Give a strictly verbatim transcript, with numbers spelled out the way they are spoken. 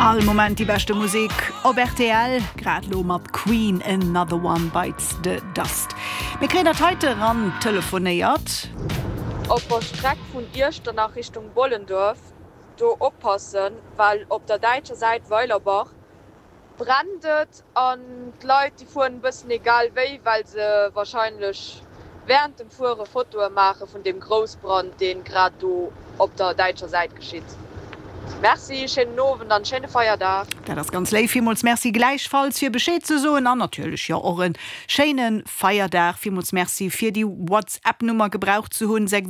All Moment déi beschte Musek op R T L, grad lo mat Queen, Another One Bites the Dust. Mir kréien dat heite ran telefonéiert. Op der Streck vun Iechternach Richtung Bollendorf do oppassen, well op der däitscher Säit Weilerbach brennt et an d'Leit déi fueren bëssen egal wéi, well se wahrscheinlech während dem Fuere Fotoe maache vun dem Groussbrand, deen grad do op der däitscher Säit geschitt. Merci, schéinen Owend an schéine Feierdag. Dat ass ganz léif, villmools Merci, gläichfalls fir Bescheed ze soen an natierlech jo och e schéine Feierdag. Villmools Merci fir déi WhatsApp-Nummer gebraucht ze hunn sechs.